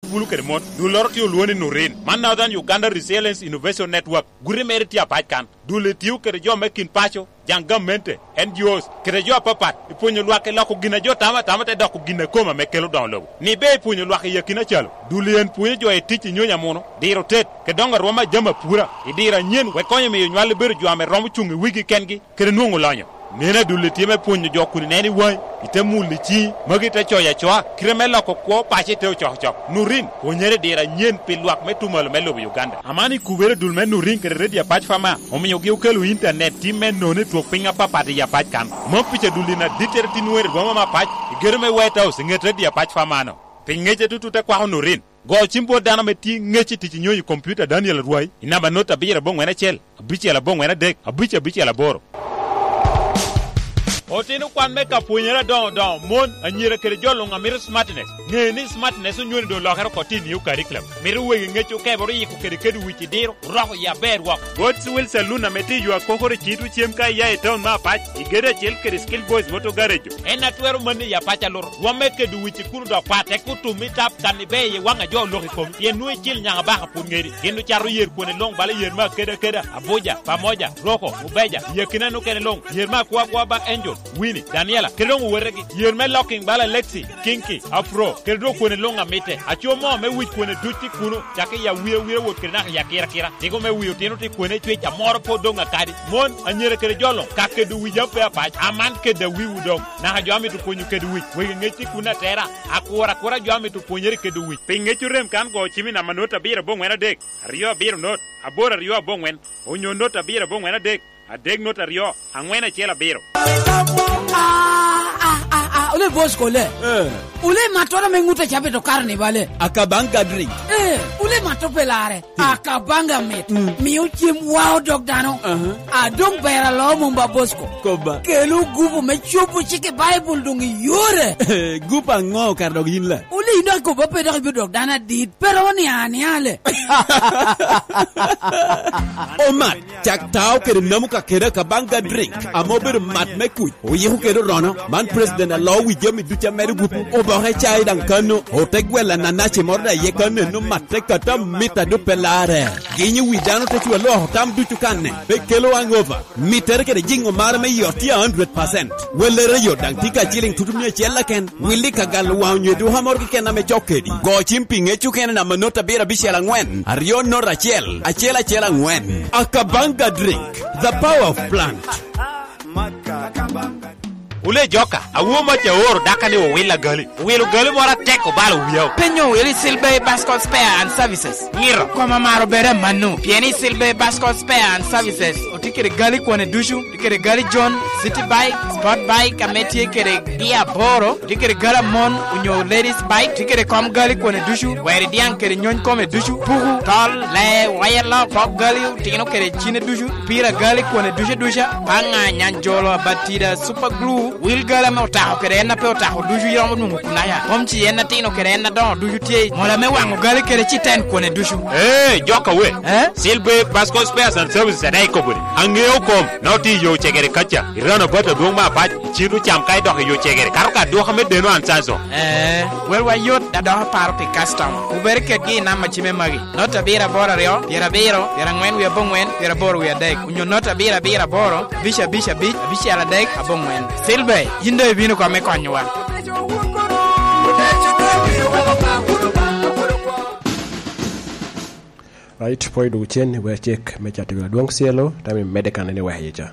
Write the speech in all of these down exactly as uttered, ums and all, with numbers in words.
Bulu kede mon, dulloro tye olwoŋo ni Nurin. Man Northern Uganda Resilience Innovation Network. Guti mere tye apac kan. Dul etio kede jo me kin paco, jaŋ gamente, N G Os, kede jo apapat, i pwonyo lwak i loko gin a jo tamo atama te doko gin a kome ame kelo doŋo lobo. Ni be i pwonyo lwak i akina calo, dul en pwonyo jo i tic i nyonyo amuno, diro tet, kede doŋo arwom a jami apura, i diro anyen, wek konyo miyo nywal bedo jo ame romo cuŋ i wigi kengi, kede nwoŋo lonyo. Neno adulli tye me pwonyo jo kun ineno i waŋi, ite mulo i ciŋi, magi ite coyo acoa, kite me loko kwo paco ite ocokocok. Nurin, pwonyere i diro anyen pi lwak me tumalo me lobo Uganda. Aman i kubere dul me Nurin kede Radio Apac Fama, omiogi okelo intanet tim me nono i twok piny apapat i Apac kan. Mom pica dul in adittere tin nwoŋo i rwoma me Apac, i gedo me White House, i ŋet Radio Apac Fama-no. Pi ŋec atutut akwako Nurin. Go cim bot dano ame tye ŋec i tic i nyonyo i kompiuta Daniel Arwai, i namba not abiro aboŋwen acel, abicel aboŋwen adek, abic abicel aboro. Otino kwan me ka pwonyere adoŋo doŋo, mon, anyira kede jo luŋ a mito smartness. Ŋe ni smartness onywoni doŋ olokere oko tye i new curriculum. Mito wegi ŋec okebere oyiko kede kede wic i diro, oroko i aber wok. God's Will Saloon ame tye i yo akokoro i Cito cem ka iya i taun me Apac, i gedo acel kede Skill Boys Motor Garage. En a twero manni i Apac aluto. Rwomme kede wic i kuno dok pat, tek otum i tap kan ibe i waŋ a jo olok i komi. Pien nwoŋo icil nyaka baka pwod ŋedi. Gin ocato yer kwene luŋ bala yer me akeda akeda, Abuja, Pamoja, Roko, Mubeja, i akina nokene luŋ, yer me akwa akwa ba Angel, Winnie, Daniela, kede doŋ owetegi, yer me locking bala Lexi, Kinky, Afro, kede doŋ kwene luŋ amitte. Aco mo me wic kwene duc tye kuno, cakki i awia awia wot kede naka i akira akira. Tiko me wi otino tye kwene cwec amoro pwod doŋ akadi. Mon, anyira kede jo luŋ, ka kedo wic ape apac, aman kedo awiwu doŋ. Naka jo amito pwonyo kedo wic, wegi ŋec tye kuno atera, akura akura jo amito pwonyere kedo wic. Pi ŋec orem kan go cim i namba not abiro aboŋwen adek, aryo abiro not, aboro aryo aboŋwen, onyo not abiro aboŋwen adek, adek not aryo, aŋwen acel abiro. Ah, ah, ah, ah, ole boss kole. Eh. Ole matoro me ŋut a cabito karni bale. Akabanga drink. Eh, ole mato pe lare. Hmm. Akabanga mit. Hmm. Mio cem wao dog dano. Aha. Adong ber alo mom ba boss ko. Koba. Kelo gupu me cobo cik i Baibul doŋ iyore. Gupu aŋo kara dog yin la? Ole ino akobo pe dok ibiro dok dano adit. Pero ni aniale. Omat, cak tao kede namu ka kede akabanga drink, ame obedo mat me kuc, oyiko kede orono. Man president alo wi jami ducu amedo gupu, oboke cai daŋ kano, ote gwella nanaci moro daŋ ye kano eno mat te kata mit a dupe lare. Ginyo wi dano te cu aloko tam ducu kanne, pe kelo hangover. Mittere kede jiŋo mare me yot tye a hundred percent. Wellere yot daŋ tye ka ciliŋ tutu mia acel keken. Willi ka galo waŋ onyo duka moro keken ame cok kedi. Go cim pi ŋec okene namba not abiro abicel aŋwen, aryo not acel, acel acel aŋwen. Akabanga drink, the power of plant. Wule joka, awo mac aoro daka ni owil agali. Owilo gali moro atek obalo wiya. Penyo wili Silver Bascot Spare and Services. Ngiro. Koma maro bere manu. Pien i Silver Bascot Spare and Services, otye kede gali kwane ducu. Tye kede gali John, City Bike, Sport Bike, ame tye kede gia aboro. Tye kede gali amon, onyo ladies bike. Tye kede kom gali kwane ducu. Weri diaŋ kede nyony kome ducu. Puku, tol, lee, waya lok, pok gali, otino kede cine ducu. Pira gali kwane ducu duca. Paŋa, nyanjolo, abatida, super glue. Wil gali ame otako kede en a pe otako ducu iromo nwoŋo kunaya. Kom ci en atino kede en adoŋo ducu tye. Mola me waŋo gali kede ci ten kwane ducu. Ee, joka we. Eh? Silver Pasco Spares and Services adaŋ ikobo ni, aŋeo kom, na otye i yo cegere kaca, i rano bat adwoŋ me apac, i cito cam ka idok i yo cegere, kato ka adwoka me deno an canso. Eh, welwa yot, da dok aparo pi customer. Wubere kedgi i namba cime magi. Not abiro aboro aryo, pyerabiro, pyeraŋwen wie aboŋwen, pyeraboro wie adek. Onyo not abiro abiro aboro, abic abic abic, abicel adek, aboŋwen. Silver, yin doŋ ibino kome konyowa. Right, pwoyo dwogo cen i wer cek me cato wi adwoŋ cielo, tam i medde kan en i weko iye ca.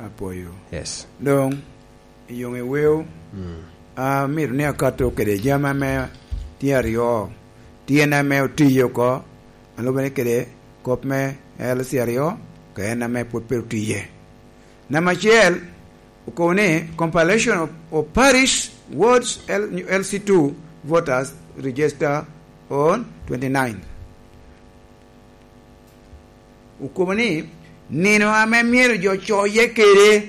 Apwoyo. Yes. Doŋ, i yoŋ i weo, mm, amito ni akato kede jami ame tye aryo, tyen ame otiyo oko, alubbe ni kede kop me L C aryo, ka en ame pwod pe otiye. Namba acel, okobo ni compilation of, of parish wards L-, L C two voters register on twenty-ninth. Okobo ni nino ame myero jo coye kede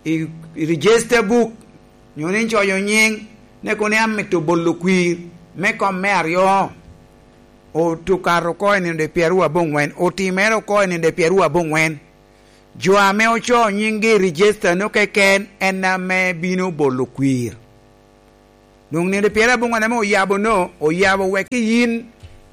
i, i register book, nyo ni coyo nyiŋ, ne kono ni amito bolo kwir me kom me aryo, otukato oko i nino de pyeraryo aboŋwen, otimere oko i nino de pyeraryo aboŋwen. Jo ame ocoo nyiŋgi i register-nu keken en ame bino bolo kwir. Doŋ nino pyerabongwen ame oyabo no, oyabo wek i yin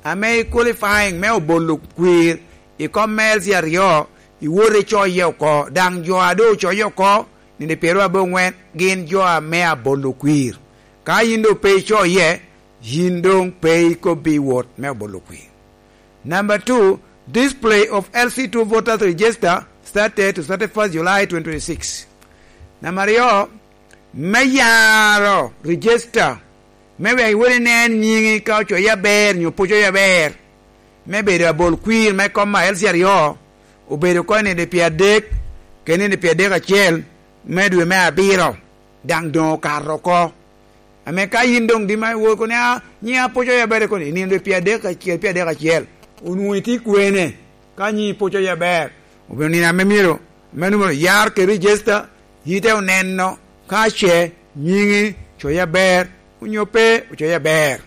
ame i qualifying me obolo kwir i kom me L C aryo, iwot icoye oko, daŋ jo a doŋ ocoye oko, nino pyerabongwen gin jo ame abolo kwir. Ka yin doŋ pe icoye, yin doŋ pe ikobbi wot me obolo kwir. Number two, display of L C two voters register started to thirty-first July twenty twenty-six. Namba aryo, me yaro register, me wek iwot inen nyiŋi ka ocoye aber nyo pe ocoye aber, me bedo abol kwir me kom a L C aryo, obedo oko i nino pyeradek, kede nino pyeradek acel me dwe me abiro, daŋ doŋ okato oko. Ame ka yin doŋ dima iwor kono, "A, nyiŋa pwod ocoyo aber kono," i nino pyeradek acel, pyeradek acel, onwoŋo itye kwene? Ka nyiŋi pwod ocoyo aber, obedo nino ame myero, ame numero yar kede register, yite oneno ka ce nyiŋi ocoyo aber, onyo pe ocoyo aber.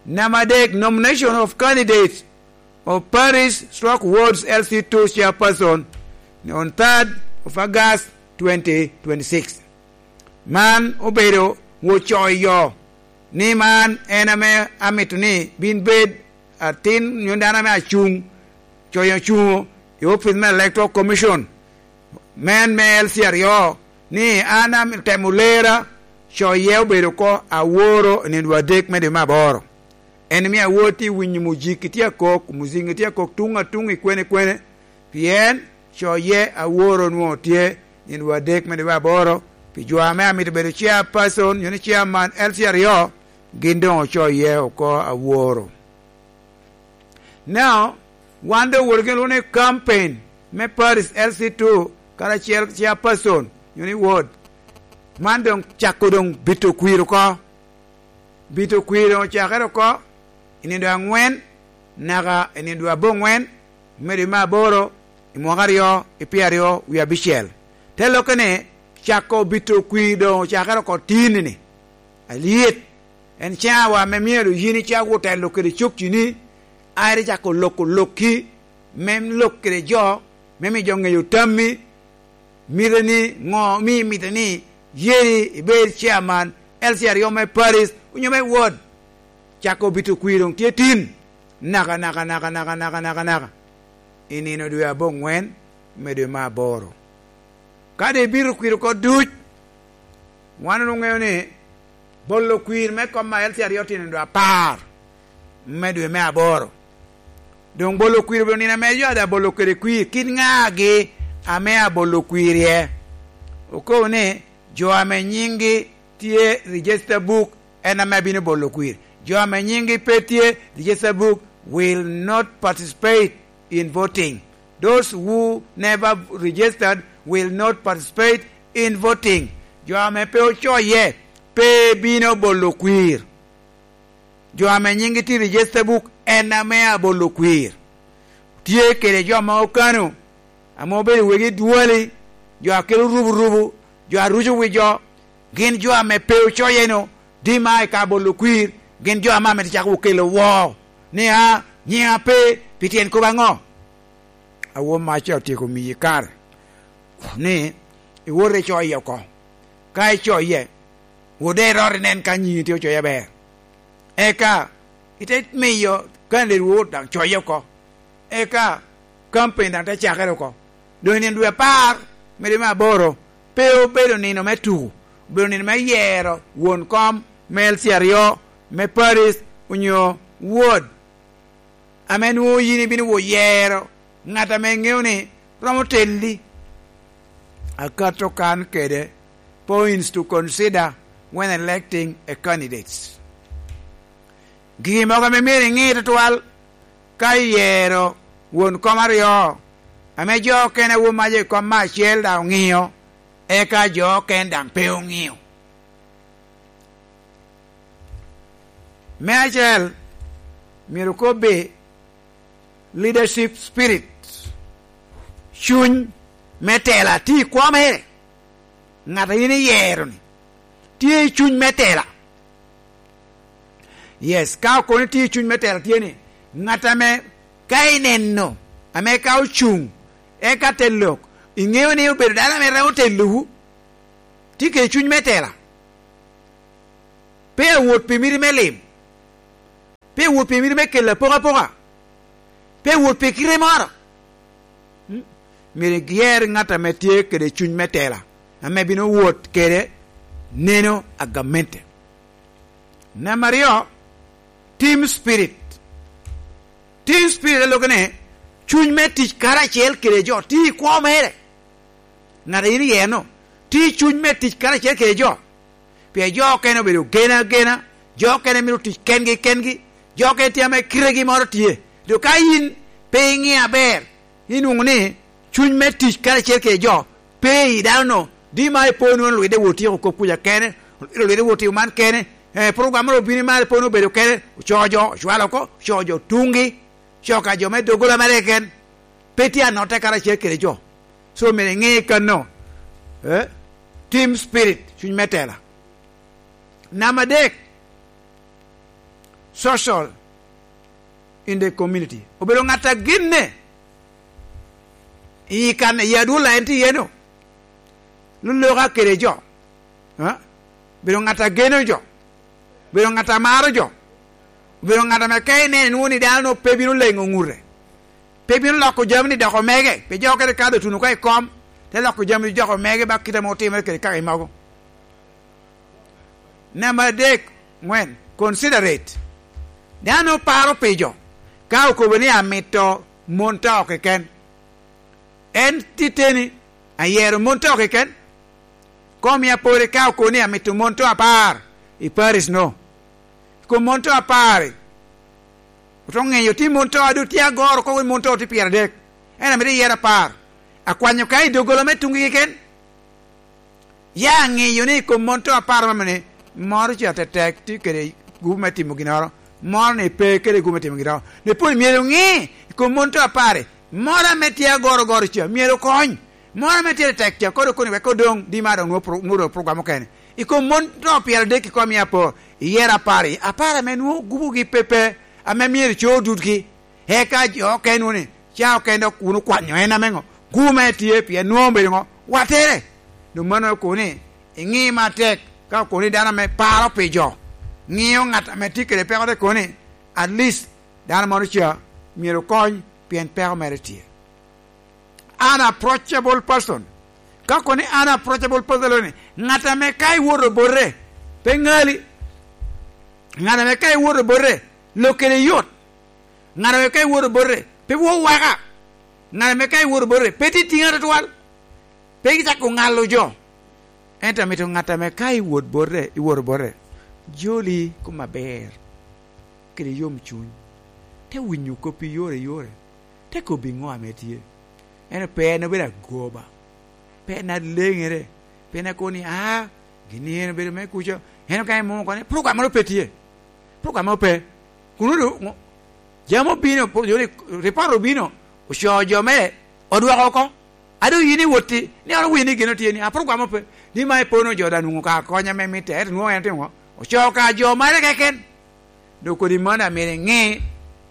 Number adek, nomination of candidates of parish stroke wards L C two chairperson on third of August twenty twenty-six. Man obedo ocoyo ni man en ame amito ni bin bed atin nyo dano ame acuŋ, coyo ocuŋo i opic me Electoral Commission, men me L C aryo, ni an am-, temo lera, coye obedo oko aworo i nino adek me dwe me aboro. En omio awor tye winyo muziki tye akok, muzingi tye akok tuŋ atuŋ i kwene kwene, pien coye aworo nwoŋo tye nino adek me dwe aboro, pi jo ame amito bedo chairperson, nyo ni chairman L C aryo, gin doŋ ocoye oko aworo. Now, wan doŋ wot gin lwongo ni campaign me Paris L C two, karacel chairperson, nyo ni ward. Man doŋ cako doŋ bito kwir oko. Bito kwir doŋ ocakere oko i nino dwe aŋwen naka i nino dwe abongwen me dwe me aboro i mwaka aryo i pyeraryo wie abicel. Te lokke ni, cako bito kwir doŋ ocakere oko tin-ni. Alyet, en cawa ame myero yin icak wot telo kede cokcini, aye icako loko lokki, me lok kede jo, me miyo jo ŋeyo tammi, mite ni ŋo, mi mite ni yeri ibed chairman L C aryo me Paris, onyo me ward. Cako bito kwir doŋ tye tin, naka, naka, naka, naka, naka, naka, naka, i nino dwe abongwen me dwe me aboro. Ka doŋ ibito kwir oko duc, wan onwoŋo ŋeo ni bolo kwir me kom a L C aryo tye nino dwe apar me dwe me aboro. Doŋ bolo kwir obedo nino ame jo a daŋ bolo kede kwir, kit ŋagi ame abolo kwir iye? Okobo ni, jo ame nyiŋgi tye i register book en ame abino bolo kwir. Jo ame nyiŋgi pe tye i register book will not participate in voting. Those who never registered will not participate in voting. Jo ame pe ocoye pe bino bolo kwir. Jo ame nyiŋgi tye i register book en ame abolo kwir. Tye kede jo ma okano, ame obedo wegi dwali, jo a kelo ruburubu, jo a ruco wi jo, gin jo ame pe ocoye-nu, dima i ka bolo kwir, gin jo ame amito cako okelo woo, ni, "A, nyiŋa pe, pi tyen kop aŋo?" Awor mac ca otyeko miyi kare ni iwot icoye oko. Ka icoye, wot daŋ irot inen ka nyiŋi tye ocoye aber. Eka ite miyo candidate wot daŋ coye oko. Eka campaign daŋ te cakere oko. Doŋ i nino dwe apar me dwe me aboro, pe obedo nino me tuko, obedo nino me yero won kom me L C aryo, me parish, onyo ward, ame nwoŋo yin ibino wot yero ŋat ame iŋeo ni romo telli. Akato kan kede points to consider when electing a candidates. Gin mogo ame myero iŋe tutwal ka iyero won kom aryo, ame jo okene a won mac i kom me acel daŋ oŋeo, eka jo okene daŋ pe oŋeo. Me acel, myero kobbe leadership spirit, cuny me tela tye i kwo mere. Ŋat a in iyero-ni tye i cuny me tela. Yes, ka okono tye i cuny me tela tye ni, ŋat ame ka ineno, ame ka ocuŋ, eka te lok, iŋeo ni obedo dano ame romo telowu, tye kede cuny me tela. Pe awot pi miti me lim, pe awot pi miti me kelo apokapoka, pe awot pi kite moro. Mm. Myero iger ŋat ame tye kede cuny me tela, ame bino wot kede neno a gamente. Namba aryo, team spirit. Team spirit a lok ni cuny me tic karacel kede jo, tye i kwo mere. Ŋat a yin iye-nu, tye i cuny me tic karacel kede jo. Pien jo okene obedo gena agena, jo okene mito tic kengi kengi, jo okene tye ame kitegi moro tye. Dok ka yin pe iŋeo aber, inwoŋo ni cuny me tic karacel kede jo pe i dano-nu. Di ma ipo nwoŋo lwidde wot tyeko kop kuca kene, lwidde wot timo man kene, eh, program moro obino i mar ipo nwoŋo obedo kene, ocoo jo, ocwalo oko, ocoo jo tuŋgi, ocoo ka jo me doggola mere keken, pe tye anotte karacel kede jo. So, myero iŋe kano, eh, team spirit, cuny me tela. Namba adek, social in the community. Obedo ŋat a genne i kan, i adwola en tye iye-nu. Loloka kede jo. Ha? Obedo ŋat a geno jo. Obedo ŋat a maro jo. Obedo ŋat ame ka ineno inwoŋo ni dano pe bino leŋo ŋute. Pe bino loko jami ni doko mege. Pe jo kede ka dotuno oko i kom, te loko jami ni doko mege ba kite ame otimere kede kaka i mogo. Namba adek, ŋwen, considerate. Dano paro pi jo, ka okobo ni amito mon to keken. En titeni, ayero mon to keken. Kom ya pore ka okobo ni amito mon to apar i Paris no. Kom mon to apar, oto ŋeyo tye mon to a doŋ tye agoro oko, mon to tye pyeradek. En amito yero apar. Akwanyo ka i doggola me tuŋgi keken. Ya aŋeyo ni i kom mon to apar mamene, moro ca tetek tye kede gupu me timo ginnoro, moro ni pe kede gupu me timo ginnoro. Ni pwod myero ŋe i kom mon to apar-ri, moro ame tye agoro goro ca myero okony, moro ame tye tetek ca kodo koni wek odoŋ di ma dok nwoŋo pro-, nwoŋo dok program okene. I kom mon to pyeradek i kom i apor, iyero apar-ri, apar ame nwoŋo gupugi pe pe, ame myero co dutgi. Eka jo okene wunu ni, ca okene dok wun okwanyo en ame ŋo? Gume tye pien nwoŋo obedo ŋo? Wattere. Doŋ mano okobo ni, iŋi matek ka okobo ni dano ame paro pi jo, ŋiyo ŋat ame tye kede peko te kobo ni, at least dano moro ca myero okony pien peko mere tye. Unapproachable person. Ka okobo ni unapproachable person, ni ŋat ame ka iwoto bote, pe ŋali. Ŋat ame ka iwoto bote, lok kede yot. Ŋat ame ka iwoto bote, pe wok waka. Ŋat ame ka iwoto bote, pe titiŋa tutwal. Pe icako ŋalo jo. Ento amito ŋat ame ka iwot bote, iwoto bote, joli kom aber, kede yom cuny, te winyo koppi yore yore, te kobbi ŋo ame tye. Ento pe en obedo agoba, pe en aleŋere, pe en akobo ni, "Aa, gin en obedo me kuca." En ka imoko ni, "Program moro pe tye. Program moro pe." Kun odo-, ŋo-, jami obino, po-, joni, ripot obino, ocoo jo mere, odwoko oko. A doŋ yin iwot i, ni oro wini gin otye ni, a program ope. Ni ma ipono jo daŋ nwoŋo ka kony ame mitte, ento nwoŋo en otimo ŋo? Ocoo ka jo mere keken. Dok kodi mano amito iŋe,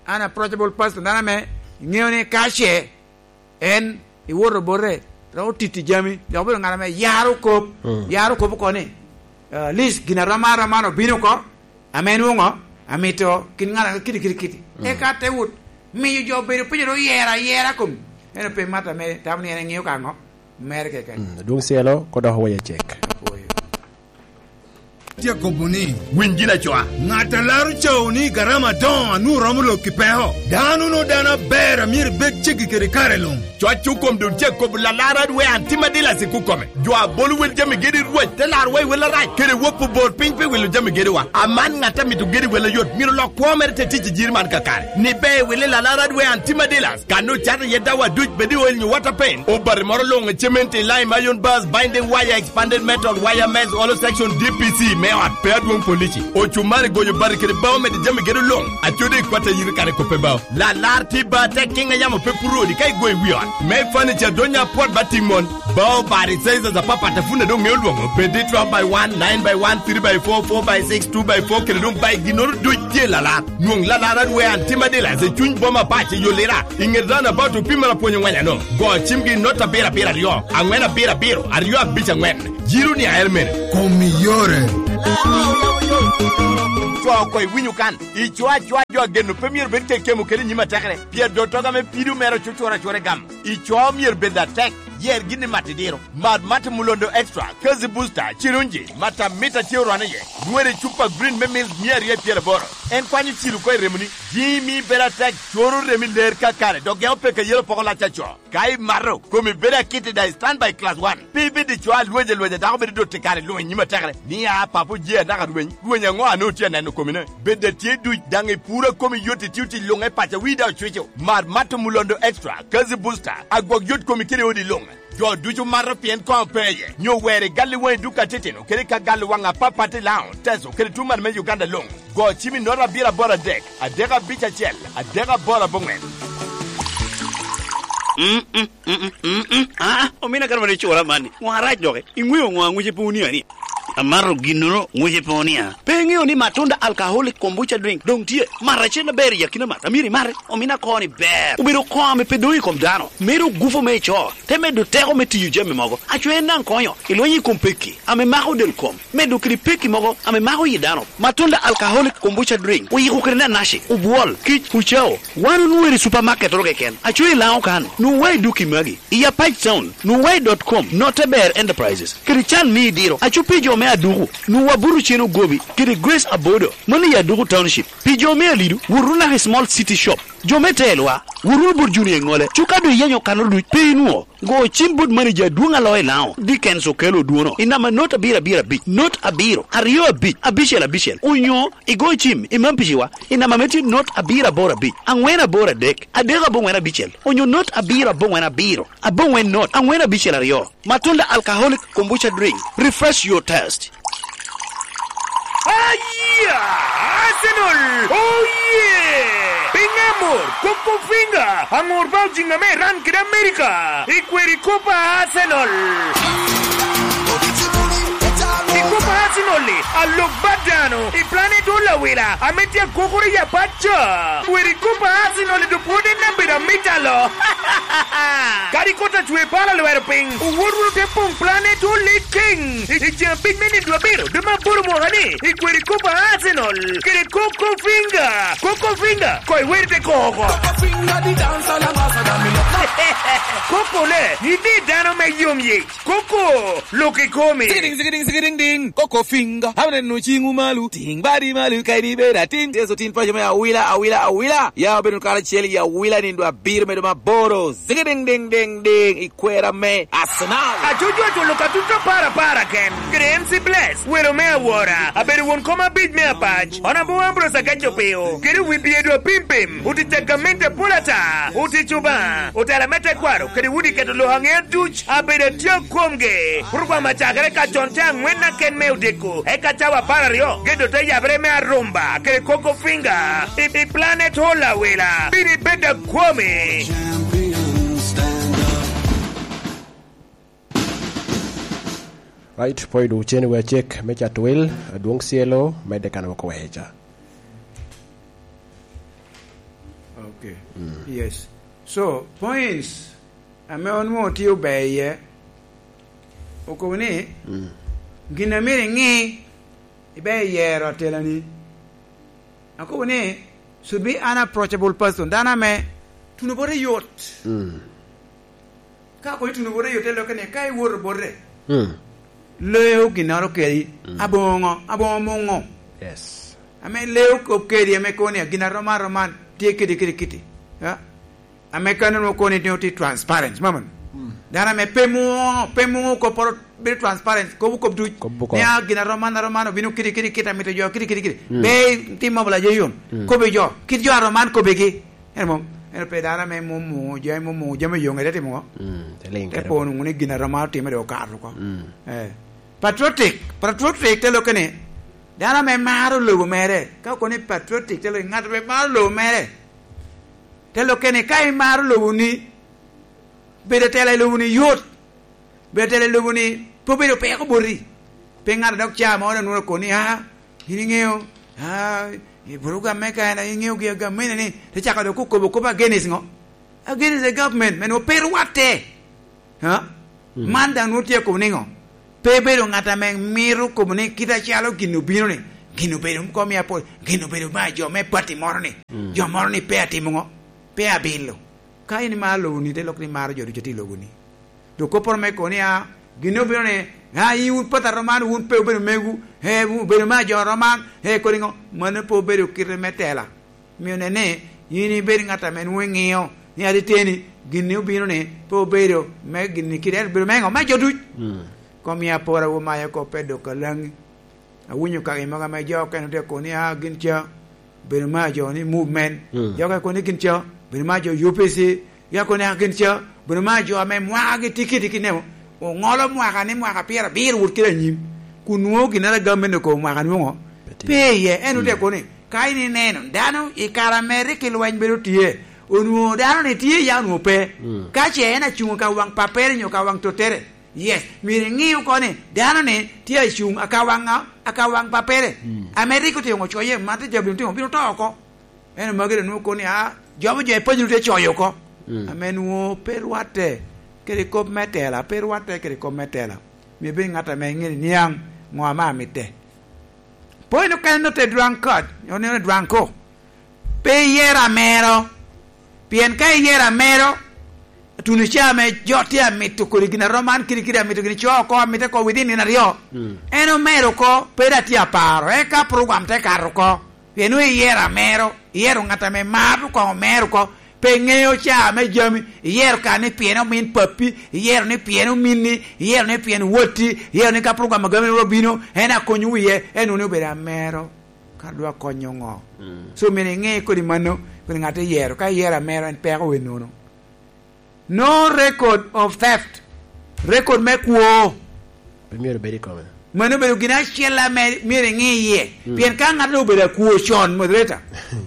an approachable person, dano ame iŋeo ni ka ce en iwoto bote, dok otiti jami, dok obedo ŋat ame yaro kop, mm, yaro kop oko ni, uh, at least gin aroma aroma obino oko, ame nwoŋo amito kin ŋat ame kiti, kiti, kiti. Mm. Eka te wot, miyo jo bedo piny ro yera, yera kom. En ope mat ame tamo ni en eŋeo ka ŋo? Mere keken. Mm, adwoŋ cielo, kodok waya cek. Apwoyo. Tye akobo ni, winy gin acoa. Ŋat a laro cawo ni garama adoŋo a nwoŋo romo lok i peko. Dano no dano aber a myero bed ceggi kede kare luŋ. Cwac okom dul cek kobo lalar adwe an tim adila sik okome. Jo a bolo wel jami gedi Rwot te larwa i wel arac, kede wop obor piny pi wilo jami gediwa. Aman ŋat a mito gedi wel ayot myero lok kwo mere te tic i jiri man kakare. Ni be wili lalar adwe an tim adila. Kan ocato iye dawa duc bed i oil nyo water paint, obati moro luŋ, cement, lime, iron bars, binding wire, expanded metal, wire mesh, hollow section, D P C me ot pe adwoŋ polici, ocumari, goyo bati kede bao medo jami gedo luŋ, acodi i kwat ayiri kare kope bao. Lalar tye ba tek kiŋ a yamo pe puro odi ka igoyo i wi ot. Me furniture donya apwot ba tiŋ mon. Bao bati sizes apapat a pwod doŋ ŋeo lwoŋo, bed i twelve by one, nine by one, three by four, four by six, two by four, kede doŋ bai ginnoro duc tye lalar. Nwoŋ lalar adwe an tim adila i cuny boma pac i yo Lira, i ŋet roundabout opimere apwony oŋweny ano. Go cimgi i not abiro abiro aryo, aŋwen abiro abiro, aryo abic aŋwen. Jiro ni ael mene. Kom i yore. Co oko iwinyo kan. I co acoa jo ageno pe myero bed kekemo kede i nyim atekere, pien dottoga me pido mere ocucuro acura i gamo. I co myero bed atek, yer gin i mat idiro. Mad Mate Mulondo Extra, Kazi Booster, Cirunji, Matamita tye orwane iye. Nywere i cupa green me mil mia aryo i pyeraboro. En kwanyo cilo oko i remoni. Jimi bedo atek, coro remi ler kakare, dok geko peke yelo poko lac aco. Ka imato, komi bedo akit i daŋ stand by class one. Pe ibed i co alwec alwec a dako bedo dot i kare luŋ i nyim atekere. Ni a papo je anaka rweny, rweny aŋo a nwoŋo tye aneno komine? Bed a tye duc daŋ i puro a komi yot i tio tic luŋ e paca wi daŋ ocwico. Mar Mato Mulondo Extra, Kazi Booster, agwok yot komi kede odi luŋ. Jo ducu mato pien koŋ pe iye. Nyo wer i gal i waŋ i duka titino kede ka gal i waŋ apapat i Laŋo, Teso kede tuŋ man me Uganda luŋ. Go cim i nota abiro aboro adek, adek abic acel, adek aboro aboŋwen. Mm, mm, mm, mm, mm, mm. Ah, omina kara mani cura mani. Ŋo arac doki? Iŋweo ŋo aŋwice pe onia ni? Amato ginnoro ŋwice pe onia. Pe iŋeo ni Matunda Alcoholic Kombucha Drink doŋ tye? Mat acel aber i akina mat. Amyero imate. Omina koni ber. Obedo koŋ ame pe doŋ i kom dano. Medo gufu me ico. Te medo teko me tiyo jami mogo. Aco en daŋ konyo. Ilwenyo i kom pekki ame mako del kom. Medo kede pekki mogo ame mako yi dano. Matunda Alcoholic Kombucha Drink oyiko kede nanaci, obwol, kic, ucao. Wan onwoŋo i supermarket oro keken. Aco i Laŋo kan, nwoŋo wa i duki magi. I Apac Town, nwoŋo wa i dot com, Note Ber Enterprises. Kede can me idiro, aco pi jo me Aduku, nwoŋo wa buto cen ogobi, kede Grace Abodo, mano i Aduku Township. Pi jo me Alidu, wot wunu naka i Small City Shop. Jo me Telwa, wot wunu bot Junior Eŋole. Cuka doŋ iyenyo kanoro duc, pe inwoŋo. Go cim bot manager adwoŋ a loyo i Laŋo, Dickens Okello Odwono, i namba not abiro abiro abic, not abiro, aryo abic, abicel abicel, onyo igo cim i Mampiciwa i namba me tye not abiro aboro abic, aŋwen aboro adek, adek aboŋwen abicel, onyo not abiro aboŋwen abiro, aboŋwen not, aŋwen abicel aryo. Matunda Alcoholic Kombucha Drink, refresh your taste. Aya! Arsenal! Oh yeah! Piny amor, Coco Finger, aŋor ba ojiŋ ame Iran kede Amerika, i kweri Copa Arsenal. I Copa Arsenal-li, alok ba dano, i planet Olawila, ame tye akokoro i apac ca. Kweri Copa Arsenal-li dok pwod en abedo amita lo. Kadi kot acwe pala lwero piny, owot wunu te poŋ planet Ole King. I, i jami piny me nino abiro, dwe me aboro mwaka ni, i kweri Copa Arsenal, kede Coco Finger. Coco Finger, koy weri te koko. Coco Finger di dancer la masa da mi lo. Coco ne, yidi dano me yom yic. Coco, lok i komi. Zigidiŋ, zigidiŋ, zigidiŋ, diŋ. Coco Finger, abineno ciŋwu malo. Tiŋ badi malo, ka in ibedo atin. Yecu tin paco me awila, awila, awila. Ya obedo kara acel i awila nindo abiro medo maboro. Zigidiŋ, diŋ, diŋ, diŋ. Kwera me Arsenal. Acucu aculo ka tut apar apar aken. Kede M C Bless, welo me awora, abedo won kom abic me apac, Honorable Ambrose Agaco Pio, kede wi byedo apimpim, otic a gamente apol ata, otic Obaŋa, otela me tekwaro, kede udi keto lok aŋea duc, abedo atye akomgi. Program acakere ka con te aŋwen aken me odiko, eka cawa apar aryo, gedo te yabere me arumba, kede Coco Finger, i, i Planet Hall Awila, bino ibed akwomi. Right, pwod ocen wi acek me cato wil, adwoŋ cielo, medde kan woko weca. Okay. Mm. Yes. So, points ame onwoŋo tye ober iye, okobo ni, mm, gin a myero iŋi, ibe iyero atelani. Akobo ni, should be an approachable person. Dano ame tuno bote yot. Mm. Ka kono ituno bote yot, te lokke ni, ka iwoto bote, mm, leo ginnoro kedi, mm, aboŋo, aboŋo muŋo. Yes. Ame leo kop kedi, ame kono ni, gin aromo aroman, tye kedi, kedi, kedi. Ya? Ame kano nwoŋo kono ni tye transparent, mama. Mm. Dano ame pe muŋo, pe muŋo kop poro bedo transparent, kobo kop duc. Kobo kop. Ni, "Ah, gin aroman, aroman, obino kidi, kidi, kit amito jo, kidi, kidi, kidi." Mm. Pe tim mobilize yom. Mm. Kobo jo, kit jo aroman kobigi. En mom, en pe dano ame mom muŋo, jo ame mom muŋo, jo ame yom, ete timo ŋo? Mm, te liŋ. Te kede po nwoŋo ni gin aroman otimere okato oko. Mm. Eh. Patriotic, patriotic te lokke ni, dano ame maro lobo mere. Ka okoni patriotic, te lokke ni ŋat ame maro lobo mere. Te lokke ni, ka imaro loboni, bedo atela i loboni yot. Bedo atela i loboni pe obedo peko boti. Pe ŋat a dok ca mo onwoŋo okoni, "Ah, in iŋeo, ah, i program me Kaina, iŋeo gi agamene ni," te cako dok okobo kop against ŋo? Against the government, men ope rwatte. Ha? Mm. Man daŋ nwoŋo tye akobo niŋo? Pe bedo ŋat ame mito kobo ni kit acalo gin obino ni, Gin obedo kom i apol, gin obedo me jo me pati moro ni. Mm. Jo moro ni pe atimo ŋo? Pe abilo. Ka in imaro lobo ni, te lok ni maro jo ducu tye i lobo ni. Dok kopporo me kono ni, a, gin obino ni, a, in wun pati a roman, wun pe obedo megu, e, wun obedo me jo roman, e, kodi ŋo? Mano pe obedo kite me tela. Mio ne ni, in ibed ŋat ame nwoŋo iŋio ni ateteni, gin ni obino ni, pe obedo me gin ni kite, ento obedo me ŋo? Me jo duc. Mm. Kom i apora wu mayo kop pe dok alaŋi. Awinyo kaki mogo ame jo okene tye kono ni, a, gin ca, bedo me jo ni movement. Mm. Jo okene kono ni gin ca, bedo me jo U P C. Jo okene ni, a, gin ca, bedo me jo ame mwakagi tye kiti kiti, ineno. Oŋolo mwaka ni mwaka pyerabiro wot kede anyim. Kun nwoŋo ginnoro agam me neko mwaka nwoŋo. Pe tye. Pe iye. En ote kono ni, ka in ineno, dano i kare ame rik i lweny bedo tye, onwoŋo dano ni tye ya onwoŋo pe. Mm. Ka ce en acuŋ ka waŋ pappere nyo ka waŋ tottere, yes, myero iŋi oko ni dano-ni tye acuŋ aka waŋ ŋa? Aka waŋ pappere. Mm. Ame rik otimo coye, man te jabino timo, bino to oko. Ento magi doŋ nwoŋo kono ni, a, jobo jo epanyoro tye coyo oko. Mm. Ame nwoŋo pe rwatte kede kop me tela, pe rwatte kede kop me tela. Myero ibed ŋat ame iŋeo ni niaŋ ŋo ame amitte. Point okene nut i drunkard, oneno drunkard. Pe iyero amero. Pien ka iyero amero, tuno ca ame jo tye amito kodi gin a roman kidi kidi amito gin co oko, amite oko within nino aryo. Mm. En omero oko, pe dok tye aparo, eka program te kato oko. Pien nwoŋo iyero amero, iyero ŋat ame maro koŋ omero oko. Pe ŋeo ca ame jami, iyero ka ni pien omin pappi, iyero ni pien ominni, iyero ni pien watti, iyero ni ka program agami obino, en akonyo wiye, en nwoŋo ni obedo amero. Ka dwa konyo ŋo? Mm. So, myero iŋe kodi mano, kodi ŋat iyero. Ka iyero amero, en peko wi nono. No record of theft. Record me kwo. Pe myero bed i kome. Mano obedo gin acel ame myero iŋe iye. Mm. Pien ka ŋat obedo akwo con, moderator,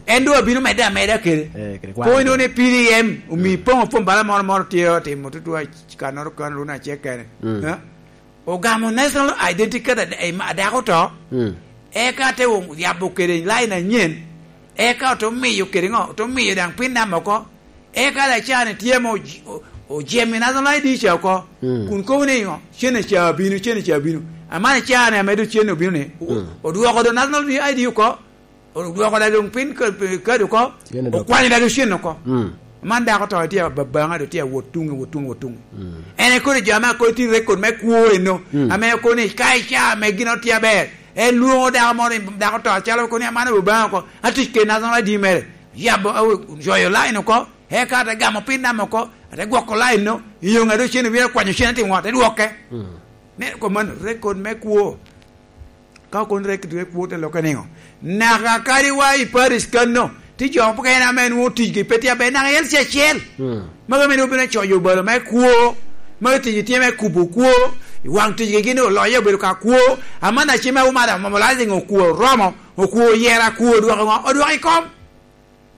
en doŋ abino medde ameda kede. Eh, kede kwan. Kono inwoŋo ni P D M, omi Mm. poŋo fom bala moro moro tye otimo tutwa kanoro kan runa acel kene. Mm. Eh? Ogamo National Identity Card ad-, em, adako to, Mm. eka te wo-, yabo kede line anyen, eka ote miyo kede ŋo? Ote miyo daŋ pin namba oko, eka lacani tye ame oji-, o-, ojemo i National I D ca oko, Mm. kun kobo ni ŋo? Cen ca bino, cen ca bino. Amani cani ame doŋ cen obino ni, o-, Mm. odwoko doŋ National I D oko, Odwoko da doŋ piny ka-, kadi oko, Cen odoko. Okwanyo da doŋ cen oko. Mm. Man dako to tye ababaŋa, doŋ tye awot tuŋe, wot tuŋe, wot tuŋe. Mm. En ekono jo ame akono tye record me kwo eno, Mm. ame okono ni ka ica ame gin otye aber, en lwoŋo dako moro, dako to acalo okono ni, "Aman ababaŋa oko, atic kede National I D mere." Yabo, awe-, coyo line oko, eka ate gamo pin namba oko, ate gwoko line no, i yo ŋa doŋ cen obino kwanyo cen, atimo ŋo? Ate dwoke. Mm. Ne, kom man, record me kwo. Ka okon rek dwe kwo te lokke niŋo? Naka kadi wa i Paris kanno, ti jo mukene ame nwoŋo ticgi pe tye aber, naka i L C acel. Mm. Magi ame nwoŋo bino coyo obalo me kwo, magi ticgi tye me kubo kwo, i waŋ ticgi gin oloye obedo ka kwo, aman acima omada mobilizing okwo oromo, okwo oyera, kwo odwoko ŋo? Odwoko i kom.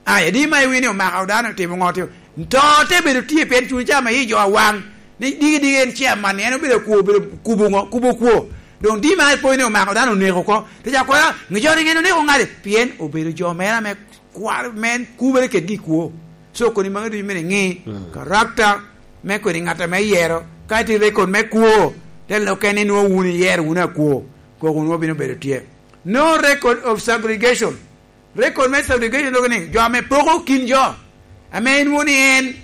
Ai, adi ma iwinyo omako dano otimo ŋo tio? To te bedo tye pien cuny ca me yi jo awaŋ. Ni digi digi en chairman, en obedo kwo, obedo kubo ŋo? Kubo kwo. Doŋ di ma ipwony ni omako dano oneko oko. Te ca kwara, ŋe jo ringe en oneko ŋade. Pien obedo jo mere ame kwar, me en kubere kedgi i kwo. So koni magi ducu mene ŋi, Mm. character me koni ŋat ame yero. Ka ti record me kwo, te lokke ni nwoŋo wun iyero wun akwo. Koko nwoŋo bino bedo tye. No record of segregation. Record me segregation dok ni, jo ame poko kin jo, ame inwoŋo ni en,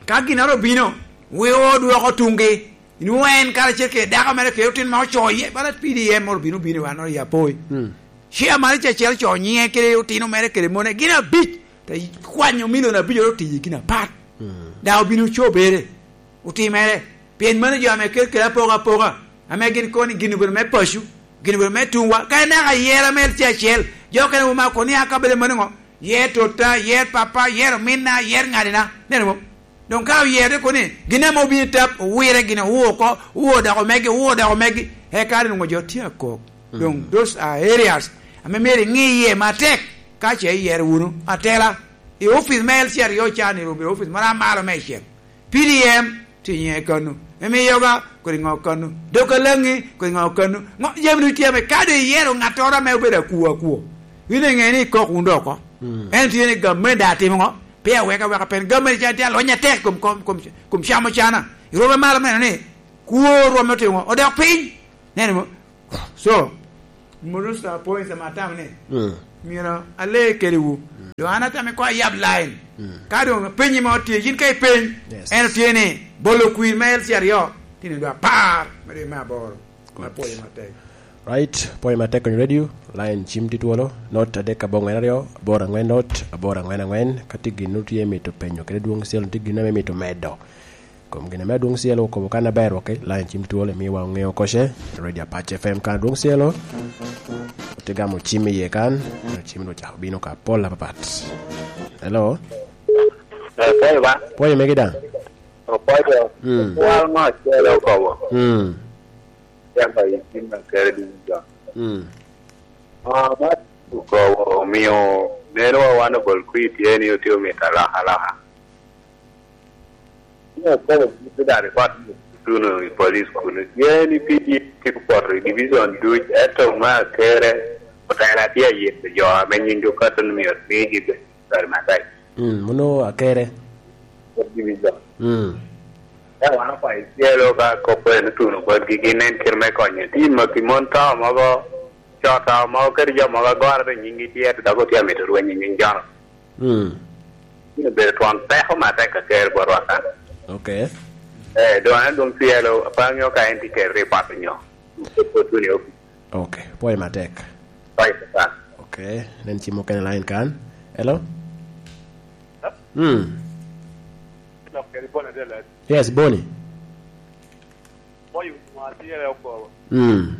ka ginnoro obino, weo odwoko tuŋgi, inwoŋo en karacel kede dako mere kede otin ma oco iye, bala P D M moro obino, obino i wannoro i Apoi. Mm. Chairman ca acel oco nyiŋe kede otino mere kede mone, gin abic, te kwanyo milion abic oro tiyi gin apat. Mm. Daŋ obino cobere. Otimere. Pien mano jo ame kel kede apoka apoka, ame gin kono gin obedo me paco, gin obedo me tuŋwa. Ka inaka yer ame tye acel, jo okene wuma kono ni, "A, ka bedo mano ŋo? Yer totta, yer pappa, yer ominna, yer ŋadina." Neno mo? Doŋ ka oyerde kono ni, gin ame obino i tap, owire gin, owo oko, owo dok omegi, owo dok omegi. Eka doŋ jo tye akok. Doŋ Mm. those are areas ame myero iŋi iye matek, ka ce iyero wunu atela. I office me L C R yo can, i obedo office moro amalo me icel. P D M tye nyiŋe kano. Emiyoga, kodi ŋo kano. Dok alaŋi, kodi ŋo kano. Ŋo, jami ducu tye ame ka doŋ iyero ŋattoro ame obedo akwo akwo, in iŋe ni ikok wun doŋ oko. Mm. En tye ni gamente atimo ŋo? Pe aweka weka pen gamente can tye alony atek kom, kom, kom, kom camo cana. Irwome malo meno ni kwo rwome otimo ŋo? Odok piny. Neno mo? So, Murusa points ame atamo ni, mm, myero ale kedewu. Mm. Doŋ an atamo ni koŋ ayab line. Mm. Ka doŋ penyi mo tye, yin ka ipeny, yes, en otye ni bolo kwir me L C aryo, tye ni dwa apar, me dwe me aboro. Good. Apwoyo matek. Right, pwoyo matek Onyo Radio, line cim tye twolo, not adek aboŋwen aryo, aboro aŋwen not, aboro aŋwen aŋwen, ka tye gin tye mito penyo, kede dwong cel tye gin ame mito medo. Kom gin ame adwong cielo okobo kan aber, ok, line cim twolo, imiwa oŋeo koce, Radio Apac F M kan adwong cielo. Ote gamo cim iye kan, cim dong ocako bino ka pol apapat. Hello? Eh, pwoyo ba? Pwoyo megi daŋ? Opwoyo. Mm. Wal ŋo acel okobo? Mm. Yamba i cim na kere dum jo. Mm. Ah, ma okobo omio neno wa wan obol kwi tye ni otye omito alaka alaka. Ni okobo gin te dare kwat tuno i police kuno. Tye ni P D F tye poto i division duc, eto ma kere otela tye ayito jo ame nying jo kato ni myero migi be kare matek. Mm, muno akere. Kod division. Mm. Ka wan okwayo cielo ka kop en otuno botgi, gin en kite me konyo. Tim ma pi mon to mogo, co to mogo, kadi jo mogo agora te nyinggi tye, to dok otye amito rweny i nying jono. Mm. Bino bedo twon peko matek aker botwa kan. Ok. Eh, doŋ an adwoŋ cielo, apaŋo ka en tye kede ripot onyo. Kop otuno i opic. Ok, pwoyo matek. Pwoyo matek. Ok, nen cim mukene line kan. Hello? Hello? Mm. Lok kede Boni adel, eh? Yes, Boni. Pwoyo ŋo acel okobo. Mm.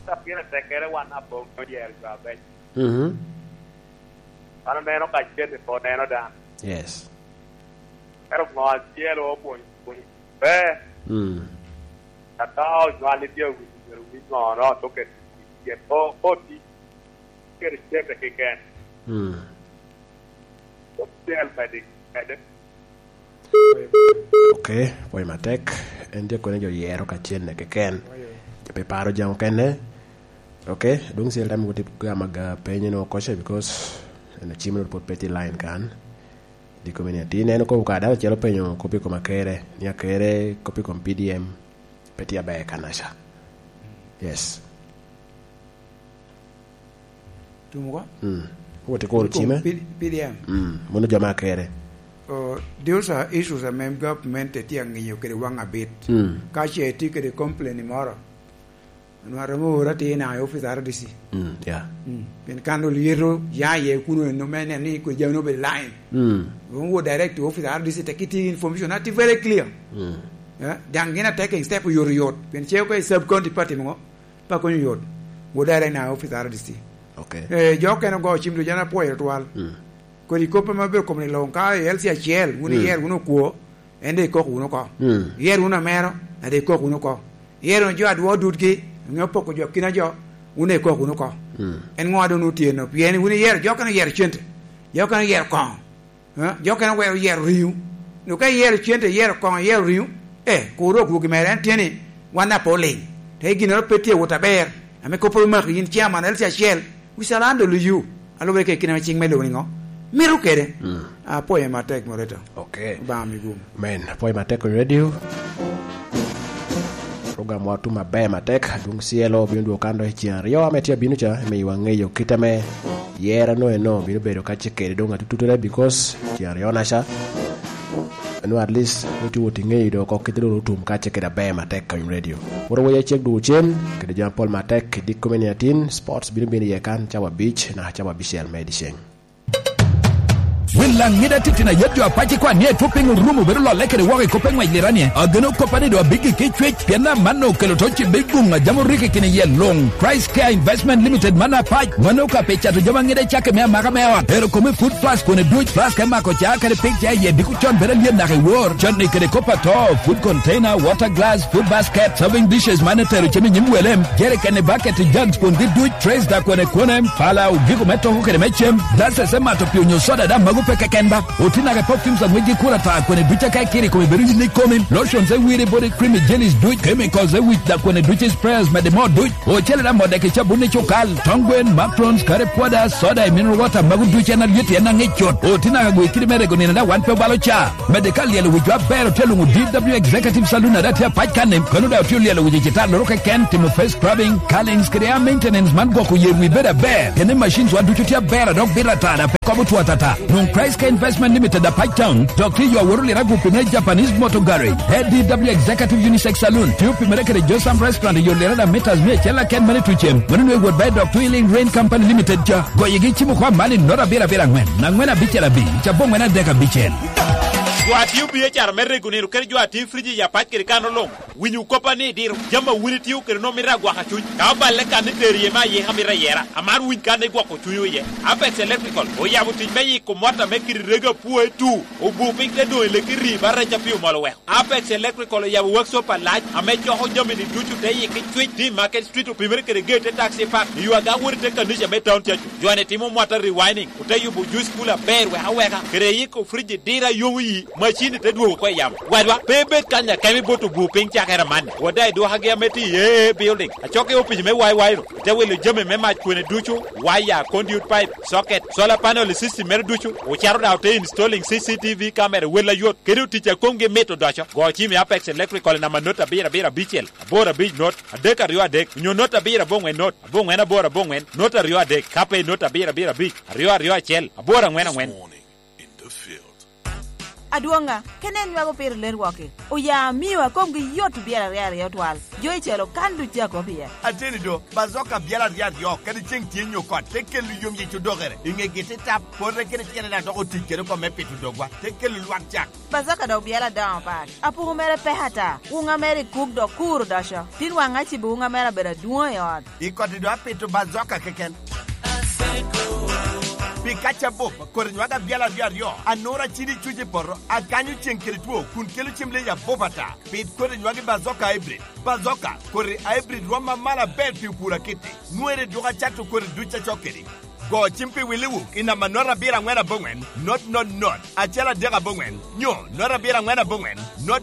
Ka pire tekere wan aboŋo yer jo abec. Mhm. An oneno ka cen ni pe oneno dan. Yes. Ero ŋo acel opwony, pwony. Be. Mm. Ata onywal ni tye owinyo myero owiny ŋo, no, to kede tye, to, to ti kede cente keken. Mm. Ocel mede, mede. Ok, pwoyo matek. En tye kone jo yero ka cenne keken. Jo pe paro jam okene. Ok, dong cel tam woti gama ga penyo no koche because en acim no pot pe tye line kan. Diko mene atin en okobo ka dano celo penyo kop i kom akere, ni akere kop i kom P D M pe tye aber kanaca. Yes. Tumo ko? Mm. Wot ikuro cime. P-, P D M. Mm. Mono jo ma kere. Oh, those are issues ame government tye angiyo kede wang abit. Mm. Ka ce tye kede complain moro, nwa romo ora tye na i office R D C. Mm, yeah. Mm. Pien kan ol yeto ya ye kuno eno me neno ni kwe jami no be line. Mm. Wong wo direct to office R D C, te kiti information ati very clear. Mm. Yeah. Dang gin a taking step yot yot. Pien che ko sub county party mo. Pa konyo yot. Wo direct na office R D C. Okay. Eh, jo okene ogo cim ducu, an apwoyo twal. Mm. Kodi kop ame obedo kom ni luŋ, ka i L C acel, wun, mm, iyer wunu okwo, en de ikok wunu oko. Mm. Iyer wunu amero, en de ikok wunu oko. Iyer wunu jo adwo dutgi, ŋe opoko jo kina jo, wun de ikok wunu oko. Mm. En ŋo a doŋ otye no? Pien wun iyero, jo okene oyero cente, jo okene oyero koŋo. Eh, jo okene owero yero riŋo. Onyo ka iyero cente, iyero koŋo, iyero riŋo, eh, kur dok dwogi mere. En tye ni, wan daŋ pe oliŋ. Te ginnoro pe tye awot aber, ame kop omaki yin chairman L C acel, we shall handle you. Alubere kede kit ame cing me lobo ni ŋo? Mito kede. Mm. Apwoyo matek, Moreto. Ok. Obaŋa mi gum. Men, apwoyo matek, Onyo Radio. Program wa otum aber matek, adwoŋ cielo obino dwogo kan dok i ceng aryo ame tye abino ca, miyo wa ŋeyo kit ame yero no eno bino bedo ka ce kede doŋ atututtere, because ceng aryo naca, eno at least wot iwot iŋeyo do oko kite doŋ otum ka ce kede aber matek ka Onyo Radio. Wot awoya cek dwogo cen, kede jami apol matek i dikko me nino atin, sports bino bino iye kan cawa abic, naka cawa abicel me dyeceng. Wil Laŋida titino ayet jo apac i kwan ni etwo piny orumo bedo lolle kede woko i kop eŋwec liranie. Ageno koppa ni do abiggi ki cwec, pien amanno okelo to cibbe guŋ a jam orikki kine yel luŋ. Christ Care Investment Limited man apac, mano ka pe cato jami aŋida i cakke me amaka me ot. Ero kome Food Plus kun educ, flask me mako ca kede pig ca iye diko con bedo alyet naka i wor. Con ni kede kop ato, food container, water glass, food basket, serving dishes man etero cem i nyim welem, jerikeni, bucket, jugs kun giduc, trays da kwene kwene, pala, ogiko me toko kede me cem, glasses me mato pi onyo soda daŋ mago Pe keken ba, otinaga perfumes a ŋwecgi kur ata, kwene duc aka ikiro i kome bedo yinne i komi, lotions e wire, body cream, jellies duc, chemicals e wic, dak kwene duc i sprayers, mede moo duc, ocele da modde ki cabun i cukal, tong gwen, macrons, curry powder, soda i mineral water, magu duc en alyet, en aŋic cut. Otinaga gwe kidi me rego nino da wan pe obalo ca. Mede ka lyelo wic jo aber otye luŋo D W Executive Saloon a da tye apac kan-ni, kono da otye olyelo wic i citalloro keken, timo face scrubbing, curlings, kede hair maintenance man gwoko yer wi bedo aber. Kene machines wa ducu tye aber a dok bito atara pe kobo two atata. Nwoŋo Christ Care Investment Limited a Pac Town, dok tye yo awot oliro agupi me Japanese Motor Garage. A D W Executive Unisex Saloon, tye opimere kede Josam Restaurant i yo liro da meters mia acel aken mene tucem. Mano nwe wot ba i dok Twilling Rain Company Limited ca. Goyegi cimo kwa man i nota abiro abiro angwen, angwen abicel abic, aboŋwen adek abicel. Jo a tio B H R me rego nino kede jo a tio friji i apac kede kano luŋ. Winyo koppa ni idiro jami a wun itio kede nwoŋo mito agwaka cuny. Ka oballe kan ni tero iye me ayika mito ayera, amaro winy kan igwoko cunywu iye. Apex Electrical oyabo tic me yiko mot ame kite rego apwoe tu, obu piny te doŋ i leki rii ba rec a pi omol oweko. Apex Electrical oyabo workshop alac ame coko jami-ni ducu te yiki cwic. Tye i Market Street, opimere kede gate te taxi park i yo aga wot i te kanica me Town Church. Jo-ni timo mwata rewinding, ote yubo juice cooler aber wek aweka, kede yiko fridge diro a yomo yi, macin-ni te dwogo oko i yamo. Wadwa, pe ibed kany akemo ibot obu piny cakere amanni. Wot daŋ idwokagi ame tye i A A building, acok i opic me Y Y-nu, ite wilo jami me mac kwene ducu, waya, conduit pipe, socket, solar panel i system mere ducu, ocito daŋ ote installing C C T V camera wel ayot, kede otic a komgi mit odoco. Go cim i Apex Electrical i namba not abiro abiro abicel, aboro abic not, adek aryo adek, onyo not abiro aboŋwen not, aboŋwen aboro aboŋwen, not aryo adek, ka pe not abiro abiro abic, aryo aryo acel, aboro aŋwen aŋwen. Adwoŋa, kene en nywako pire ler wok-ki. Oya amio a komgi yot obyelo aryo aryo twal. Jo i calo kan duc a kop iye. Ateni do, Bazoka byelo aryo aryo, kadi ceŋ tye nyo kot, te kelo yom yic odokere. I ŋegi te tap, pote kede tyene daŋ dok otic kede oko me pito dogwa, te kelo lwak cak. Bazoka dok byelo adoŋo pat. Apuku mere pek ata. Wuŋa mere i kuk dok kur odoco. Tin waŋ acibo wuŋa mere abedo adwoŋ i ot. I koti do apito Bazoka keken. Pi kac abup, kodi nywag abyal aryo aryo, anura cidi cuc i poto, akanyo ceŋ kede two, kun kelo cem leyi abup ata. Pit kodi nywag i Bazoka Hybrid. Bazoka, kodi Hybrid rwom amalo aber pi opur akitti. Nwere duk acato kodi duc acok kedi. Go cim pi Willy Wook i namba not abiro aŋwen aboŋwen, not not not, acel adek aboŋwen, nyo not abiro aŋwen aboŋwen, not